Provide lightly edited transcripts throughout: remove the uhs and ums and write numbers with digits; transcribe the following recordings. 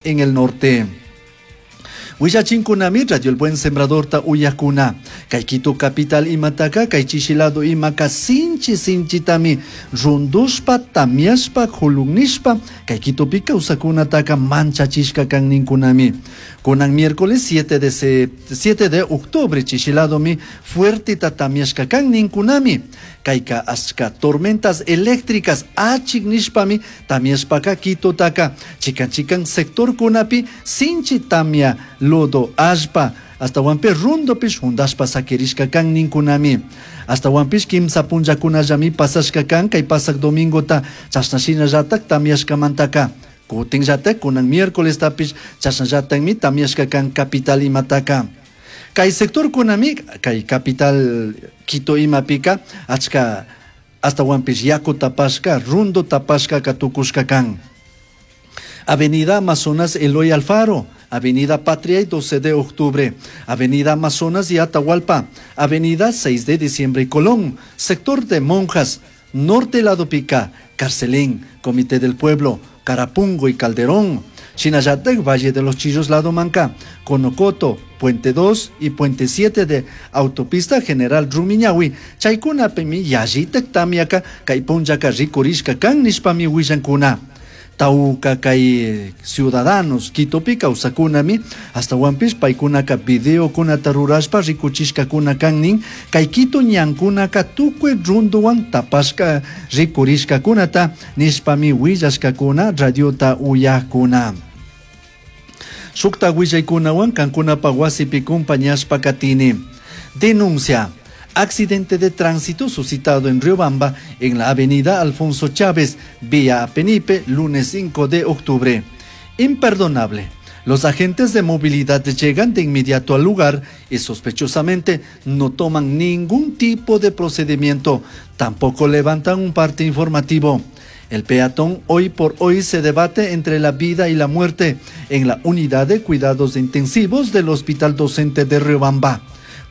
en el norte. Willachinkunami Radio El Buen Sembradorta uyakuna. Kay Quito capital imataka kay chishi lado imaka sinchi sinchitami rundushpa tamiashpa julunishpa kay Quitopi kawsakunataka manchachishka kan ninkunami. Kunan miércoles 7 de octubre chishi ladomi fuerteta tamiashka kan ninkunami. Kayka achka tormentas eléctricas achik nishpami tamiashpaka Quitotaka chikan chikan sectorkunapi sinchi tamia lodo allpa ashtahuanpish rundupish jundashpa sakirishka kan ninkunami. Ashtahuanpish kimsa punllakunallami pasashka kan kay pasak domingota chashna shinallatak tamiashkamantaka. Kutinllatak kunan miércolestapish chashnallatakmi tamiashka kan capital imataka. Kay sectorkunami kay capital Quito imapika achka ashtahuanpish yaku tapashka rundu tapashka tukushka kan. Avenida Amazonas Eloy Alfaro, Avenida Patria y 12 de octubre, Avenida Amazonas y Atahualpa, Avenida 6 de diciembre y Colón, sector de Monjas, Norte Lado Pica, Carcelén, Comité del Pueblo, Carapungo y Calderón, Shinayatec, Valle de los Chillos, Lado Manca, Conocoto, Puente 2 y Puente 7 de Autopista General Rumiñahui, Chaykunapimi yallitak tamiaka, kay punllaka rikurishka kan nishpami willankuna. Tauca kay ciudadanos Quitopi kawsakunami ashtahuanpish paykunaka videokunata rurashpa rikuchishkakuna kan nin kay Quito ñankunaka tukuy runduwan tapashka rikurishkakunata nishpami willashkakuna radiota uyakuna. Shukta willaykunawan kankunapa wasipi compañashpa katini. Denuncia. Accidente de tránsito suscitado en Riobamba, en la avenida Alfonso Chávez, vía Penipe, lunes 5 de octubre. Imperdonable. Los agentes de movilidad llegan de inmediato al lugar y sospechosamente no toman ningún tipo de procedimiento, tampoco levantan un parte informativo. El peatón hoy por hoy se debate entre la vida y la muerte en la unidad de cuidados intensivos del Hospital Docente de Riobamba,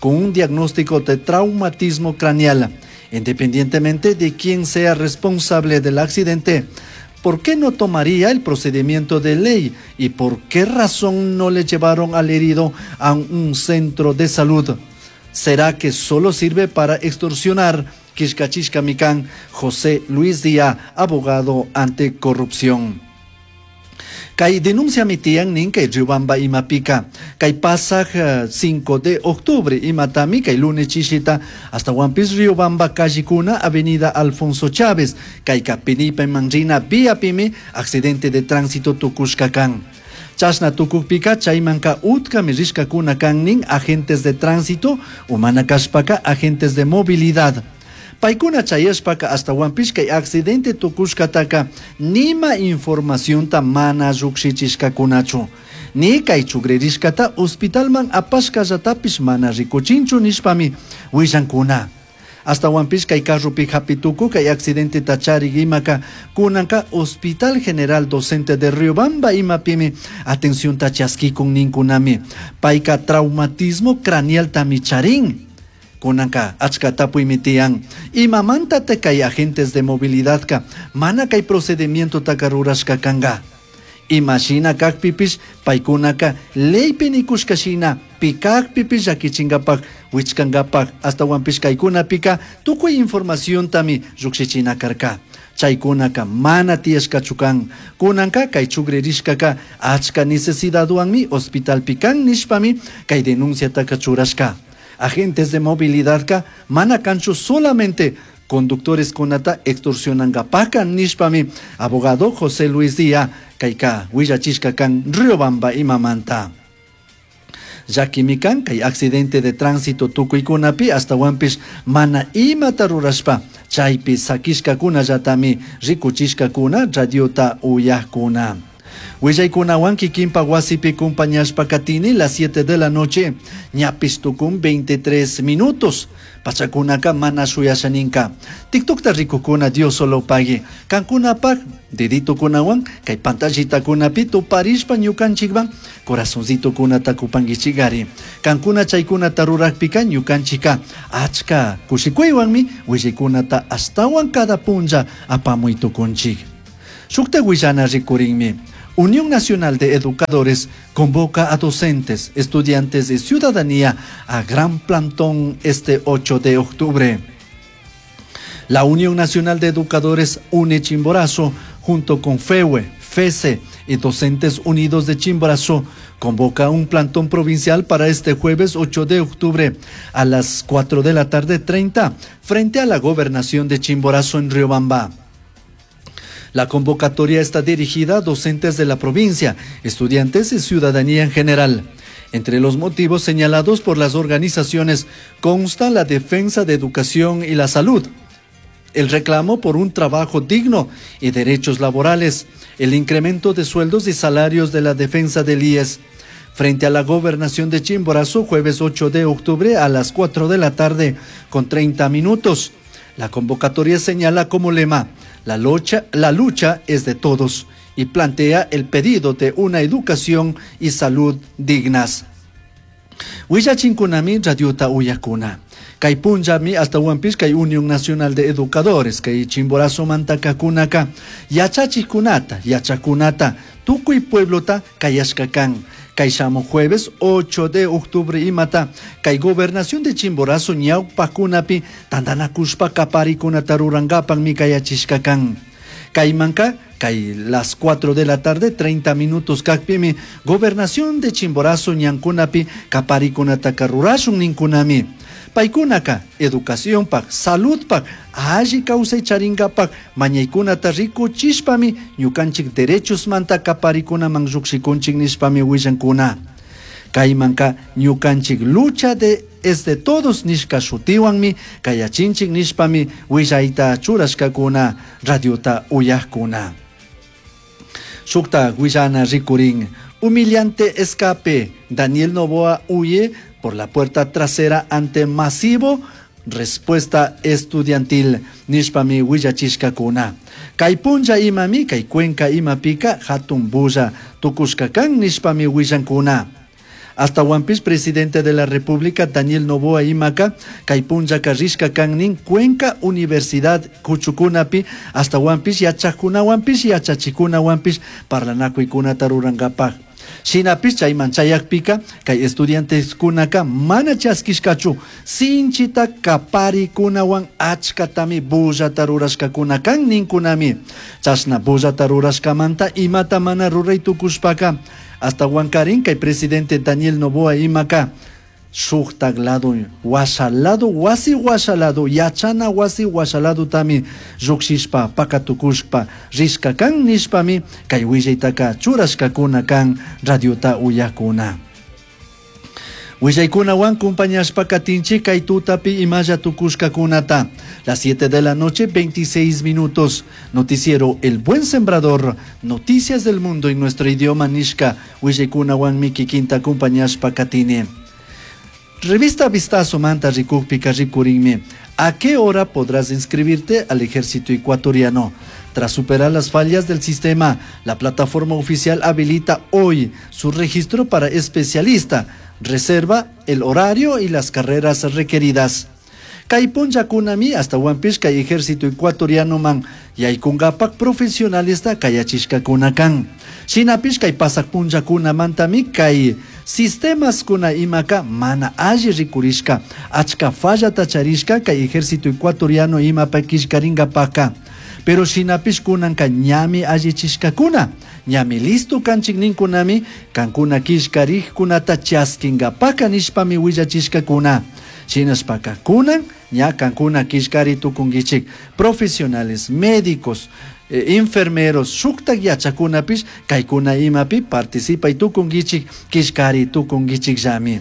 con un diagnóstico de traumatismo craneal. Independientemente de quién sea responsable del accidente, ¿por qué no tomaría el procedimiento de ley y por qué razón no le llevaron al herido a un centro de salud? ¿Será que solo sirve para extorsionar? Quishkachishka Micán, José Luis Díaz, abogado anticorrupción. Kay denuncia mitian nin kay Riobamba imapika. Kay pasaj 5 de octubre imatami kay lunes chishita ashtahuanpish Riobamba callikuna Avenida Alfonso Chávez. Kay Penipe Manrina vía pimi accidente de tránsito tukushka kan. Chashna tukukpika chaymanka utkami rishkakuna kan nin agentes de tránsito umana kashpaka agentes de movilidad. Paykuna chayashpaka ashtahuanpish kay accidente tukushkataka nima informacionta mana llukshichishkakunachu. Ni kay chugririshkata hospitalman apashkallatapish mana rikuchinchu nishpami willankuna. Ashtahuanpish kay carropi hapituku kay accidente charik imaka kunanka Hospital General Docente de Riobamba imapimi atencionta chaskikun ninkunami. Payka traumatismo craneal tami charin. Kunanka achka tapuymi tiyan. Imamanta te kay agentes de movilidad ka mana kay procedimiento taka rurashka kanga. Imashina kakpipish paykunaka leypi nikushka shina pikakpipish llakichinkapak wichkankapak ashtahuanpish kaykunapika tukuy informaciontami llukshichina karka. Chaykunaka mana tiyashkachu kan. Kunanka kay chugririshkaka achka necesidadwanmi hospitalpi kan nishpami kay denunciataka churashka. Agentes de movilidad ka mana kanchu solamente conductores kunata extorsionankapaka nishpami abogado José Luis Díaz kayka willachishka kan Riobamba imamanta. Llakimi kan kay accidente de tránsito tukuykunapi ashtahuanpish mana imata rurashpa chaypi sakishkakunallatami rikuchishkakuna radiota uyakuna. Willaykunawan kikinpa wasipi compañashpa katini las 7 de la noche, ñapis tukun 23 minutos. Pachakunaka mana shuyashaninka. TikTokta rikukuna Dios solo pague. Kankunapak deditokunawan kay pantallitakunapi tuparishpa ñukanchikwan corazoncitokunata kupankichikari. Kankuna chaykunata rurakpika ñukanchika achka kushikuywanmi willaykunata ashtawan cada punlla apamuy tukunchik. Shukta willana rikurinmi. Unión Nacional de Educadores convoca a docentes, estudiantes y ciudadanía a gran plantón este 8 de octubre. La Unión Nacional de Educadores UNE Chimborazo, junto con FEUE, FESE y Docentes Unidos de Chimborazo, convoca un plantón provincial para este jueves 8 de octubre a las 4 de la tarde 30 frente a la gobernación de Chimborazo en Riobamba. La convocatoria está dirigida a docentes de la provincia, estudiantes y ciudadanía en general. Entre los motivos señalados por las organizaciones consta la defensa de educación y la salud, el reclamo por un trabajo digno y derechos laborales, el incremento de sueldos y salarios de la defensa del IES. Frente a la gobernación de Chimborazo, jueves 8 de octubre a las 4 de la tarde con 30 minutos. La convocatoria señala como lema, la lucha, la lucha es de todos y plantea el pedido de una educación y salud dignas. Willachinkunami radiota uyakuna. Kay punllami ashtawanpish kay Unión Nacional de Educadores kay Chimborazo mantakakunaka yachachikunata, yachakunata, tukuy pueblota kayashka kan. Kay shamuj jueves 8 de octubre imata kay gobernación de Chimborazo ñawpakunapi tantanakushpa kaparikunata rurankapanmi kayachishka kan. Kaymanka kay las 4 de la tarde 30 minutos kakpimi gobernación de Chimborazo ñankunapi kaparikunataka rurashun ninkunami. Paykunaka educaciónpak, saludpak, alli kawsay charinkapak mañaykunata rikuchishpami ñukanchik derechosmanta kaparikunaman llukshikunchik nishpami willankuna. Kaymanka ñukanchik lucha de es de todos nishka shutiwanmi kayachinchik nishpami willayta churashkakuna radiota uyajkuna. Shukta willana rikurin. Humillante escape. Daniel Noboa huye por la puerta trasera ante masivo respuesta estudiantil. Nishpami willachishkakuna. Kay punlla imami, kay Cuenca imapika hatun bulla tukushka kan nishpami willankuna. Ashtawanpish presidente de la República Daniel Noboa imaka kay punllaka rishka kan nin Cuenca Universidad kuchukunapi ashtawanpish yachajkunawanpish yachachikunawanpish parlanakuykunata rurankapaj. Shinapish chayman chayakpika kay estudianteskunaka mana chaskishkachu sinchita kaparikunawan achkatami bullata rurashkakuna kan ninkunami. Chashna bullata rurashkamanta imata mana ruray tukushpaka ashtawankarin kay presidente Daniel Noboa imaka shuktak lado washa lado wasi washa lado yachana wasi washa ladotami llukshishpa pakatukushpa rishka kan nishpami kay willaytaka churashkakuna kan radiota uyakuna. Willaykunawan compañashpa katinchik kay tutapi imalla tukushkakunata. Las 7 de la noche, 26 minutos. Noticiero El Buen Sembrador. Noticias del mundo en nuestro idioma nishka. Willaykunawan kikinta acompañashpa katini. Revista Vistazo manta rikukpika rikurinmi. ¿A qué hora podrás inscribirte al ejército ecuatoriano? Tras superar las fallas del sistema, la plataforma oficial habilita hoy su registro para especialista. Reserva el horario y las carreras requeridas. Kay punllakunami ashtawanpish kay ejército ecuatoriano man yaykungapak profesionalista kayachishkakuna kan. Shinapish kay pasak punllakunamantami kay sistemas kuna imaka mana alli rikurishka achka fallata charishka kay ejército ecuatoriano imapa killkaringapaka. Pero shinapish kunanka ñami allichishkakuna, ñami listo kanchik ninkunami kankuna killkarikkunata chaskinkapaka nishpami willachishkakuna. Shinashpaka kunan ña kankuna killkari tukunkichik profesionales, médicos, enfermeros, shuktak yachakunapish kaykuna imapi participay tukunkichik killkari tukunkichikllami.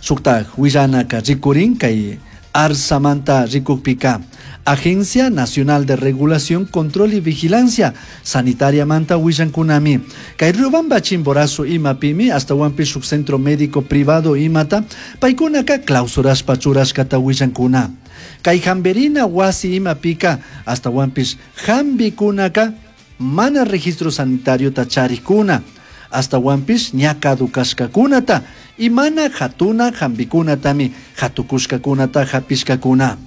Shuktak willanaka rikurin kay Arsamanta rikukpika. Agencia Nacional de Regulación, Control y Vigilancia Sanitaria manta willankunami. Kay Riobamba Chimborazo imapimi ashtawanpish shuk centro médico privado imata paykunaka clausurashpa churashkata willankuna. Kay Jamberina wasi imapika ashtawanpish jambikunaka mana registro sanitario ta charikuna. Ashtawanpish ña caducashkakunata y mana hatuna jambikunatami hatukushkakunata hapishkakuna.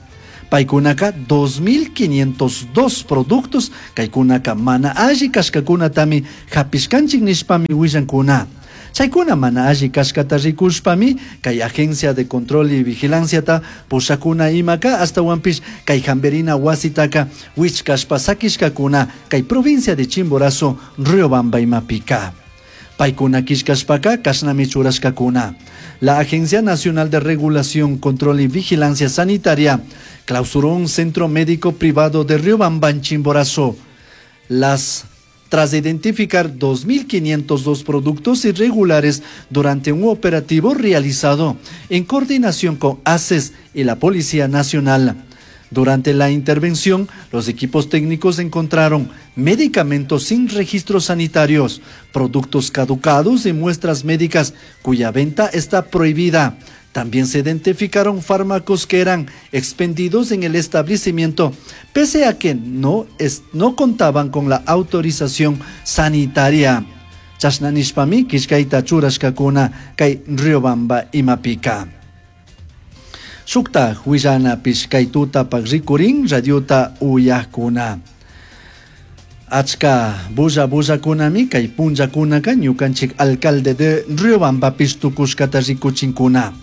Paykunaka 2502 productos kaykunaka mana alli kashkakunatami hapishkanchik nishpami willankuna. Chaykuna mana alli kashkata rikushpami kay Agencia de Control y Vigilanciata pushakuna imaka ashtawanpish kay hamberina wasitaka wichkashpa sakishkakuna kay provincia de Chimborazo, Riobamba imapika. Paykuna killkashpaka kashnami churashkakuna. La Agencia Nacional de Regulación, Control y Vigilancia Sanitaria clausuró un centro médico privado de Riobamba en Chimborazo. Tras identificar 2.502 productos irregulares durante un operativo realizado en coordinación con ACES y la Policía Nacional. Durante la intervención, los equipos técnicos encontraron medicamentos sin registros sanitarios, productos caducados y muestras médicas cuya venta está prohibida. También se identificaron fármacos que eran expendidos en el establecimiento, pese a que no contaban con la autorización sanitaria. Chashna nishpami killkayta churashkakuna kay Riobamba imapika. Shukta willanapish kay tutapak rikurin radiota uyakuna. Achka bulla bullakunami kay punllakunaka ñukanchik alcalde de Riobambapish tukushkata rikuchinkuna.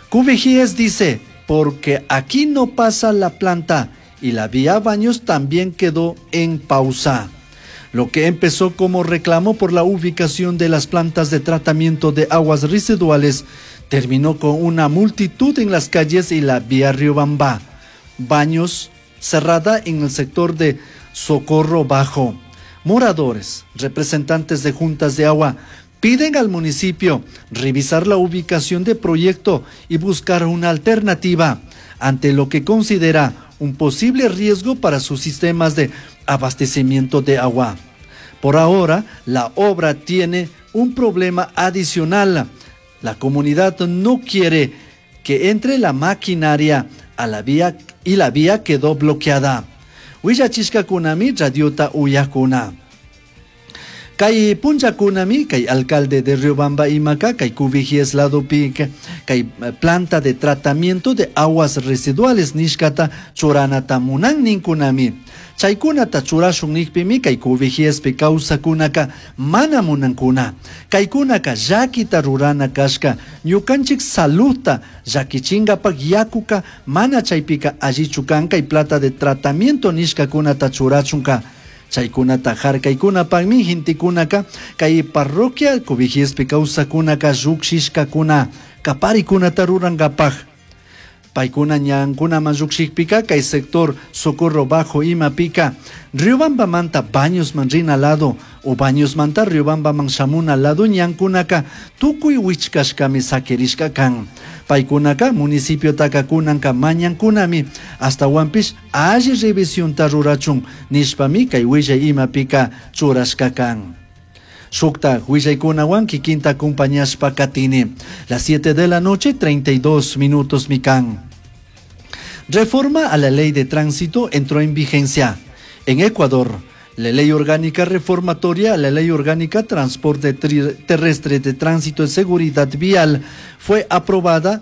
Cubijíes dice, porque aquí no pasa la planta y la vía Baños también quedó en pausa. Lo que empezó como reclamo por la ubicación de las plantas de tratamiento de aguas residuales terminó con una multitud en las calles y la vía Riobamba. Baños cerrada en el sector de Socorro Bajo. Moradores, representantes de juntas de agua, piden al municipio revisar la ubicación del proyecto y buscar una alternativa ante lo que considera un posible riesgo para sus sistemas de abastecimiento de agua. Por ahora, la obra tiene un problema adicional. La comunidad no quiere que entre la maquinaria a la vía y la vía quedó bloqueada. Willachishkakunami radiota uyakuna. Kay punllakunami kay alcalde de Riobamba imaka kay Cubijíes ladopi kay planta de tratamiento de aguas residuales nishkata churanata munan ninkunami. Chaykunata churashun nikpimi kay Cubijiespi kawsakunaka mana munankuna. Kaykunaka llakita rurana kashka ñukanchik saludta llakichinkapak yakuka mana chaypika allichu kan kay planta de tratamiento nishkakunata churachunka. Chaykunata harkaykunapakmi gentekunaka kay parroquia Cubijiespi kawsakunaka llukshishkakuna kaparikunata rurankapak. Paykuna ñankunaman llukshikpika kay sector Socorro Bajo imapika Riobambamanta Bañosman rina lado o Bañosmanta Riobambaman shamuna lado ñankunaka tukuy wichkashkami sakirishka kan. Paykunaka municipiotaka kunanka mañankunami ashtawanpish alli revisionta rurachun nishpami kay willay imapika churashka kan. Shukta willaykunawan kikinta acompañashpa katini. Las 7 de la noche, 32 minutos mikan. Reforma a la ley de tránsito entró en vigencia. En Ecuador, la ley orgánica reformatoria a la ley orgánica transporte terrestre de tránsito y seguridad vial fue aprobada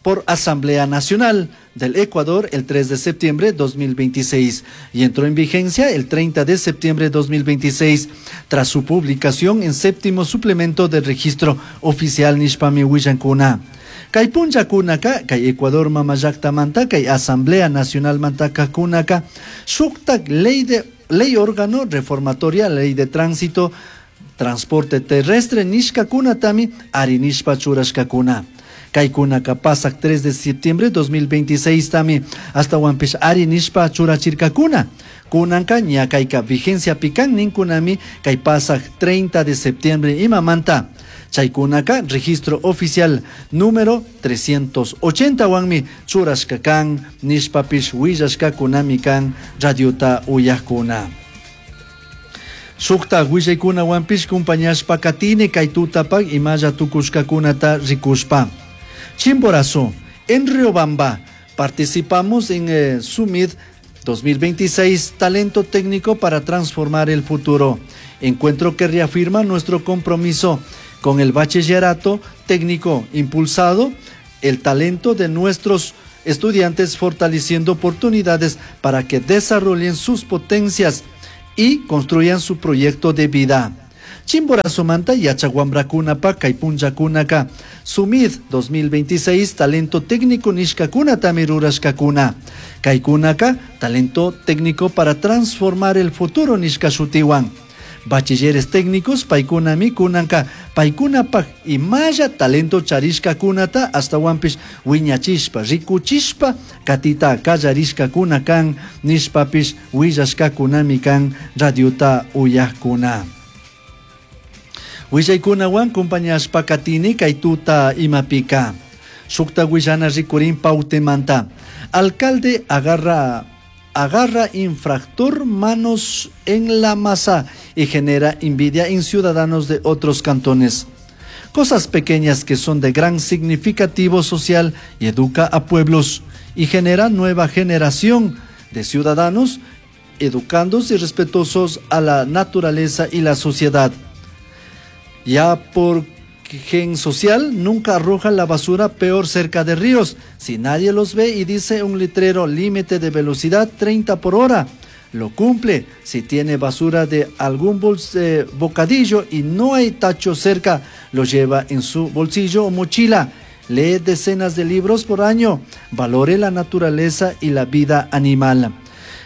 por Asamblea Nacional del Ecuador el 3 de septiembre de 2026 y entró en vigencia el 30 de septiembre de 2026 tras su publicación en séptimo suplemento del registro oficial nishpami willankuna. Kay punllakunaka, kay Ecuador mamallaktamanta, kay Asamblea Nacional mantakakunaka, shuktak ley órgano reformatoria, ley de tránsito, transporte terrestre nishkakunatami arinishpa churashkakuna. Kaykunaka pasak 3 de septiembre 2026 tami ashtawanpish arinishpa churachirkakuna. Kunanka ña kayka vigencia pikan ninkunami kay pasak 30 de septiembre imamanta. Chaykunaka registro oficial número 380 wanmi churashka kan nishpapish willashkakunami kan radiota uyakuna. Shukta willaykunawanpish compañashpa katini kay tutapak imalla tukushkakunata rikushpa. Chimborazo, en Riobamba, participamos en Summit 2026, Talento Técnico para Transformar el Futuro. Encuentro que reafirma nuestro compromiso con el bachillerato técnico impulsado, el talento de nuestros Estudiantes fortaleciendo oportunidades para que desarrollen sus potencias y construyan su proyecto de vida. Chimborazomanta yachak kay punllakunaka Sumid 2026 talento técnico nishkakunatami rurashkakuna. Kaykunaka talento técnico para transformar el futuro nishka shutiwan. Bachilleres técnicos paykunami kunanka paykunapak imalla talento charishkakunata ashtawanpish wiñachishpa rikuchishpa katita kallarishkakuna kan nishpapish willashkakunami kan radiota uyakuna. Willaykunawan compañashpa katini kay tuta imapika. Shukta willana rikurin Pautemanta. Alcalde agarra infractor manos en la masa y genera envidia en ciudadanos de otros cantones. Cosas pequeñas que son de gran significativo social y educa a pueblos y genera nueva generación de ciudadanos educándose y respetuosos a la naturaleza y la sociedad. Ya por gen social nunca arroja la basura peor cerca de ríos. Si nadie los ve y dice un letrero límite de velocidad 30 por hora, lo cumple. Si tiene basura de algún bocadillo y no hay tacho cerca, lo lleva en su bolsillo o mochila. Lee decenas de libros por año. Valore la naturaleza y la vida animal.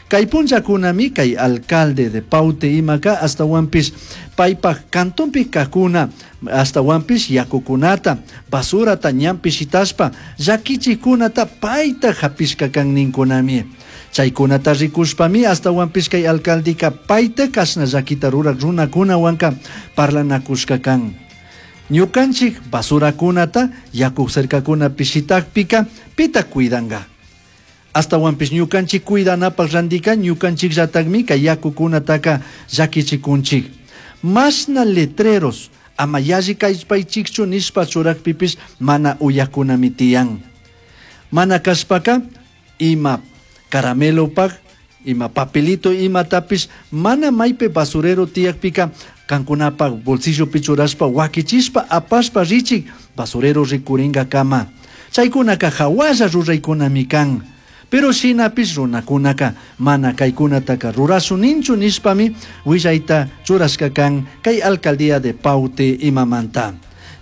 Kay punllakunami kay alcalde de Paute imaka ashtawanpish paypak cantonpi kajkuna ashtawanpish yakukunata basurata ñanpi shitashpa llakichikkunata payta hapishka kan ninkunami. Chaykunata rikushpami ashtawanpish kay alcaldeka payta kashna llakita rurak runakunawanka parlanakushka kan. Ñukanchik basurakunata yaku cercakunapi shitakpika pita cuidanga. Ashtawanpish ñukanchik cuidanapak randika ñukanchikllatakmi kay yakukunataka llakichikunchik. Mashna letreros ama yalli kallpaychikchu nishpa churakpipish mana uyakunami tiyan. Mana kashpaka ima caramelopak, ima papelito imatapish mana maypi basurero tiyakpika kankunapak bolsillopi churashpa wakichishpa apashpa richik basurero rikuringakama. Chaykunaka hawalla ruraykunami kan. Pero shinapish runakunaka mana kaykunataka rurashuninchu nishpami willayta churashka kan kay alcaldía de Paute imamanta.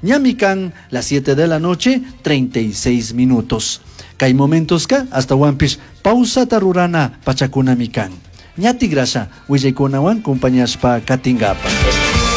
Ñami kan las 7 de la noche 36 minutos. Kay momentoska ashtawanpish pausata rurana pachakunami kan. Ñati grasha willaykunawan compañashpa katingapa.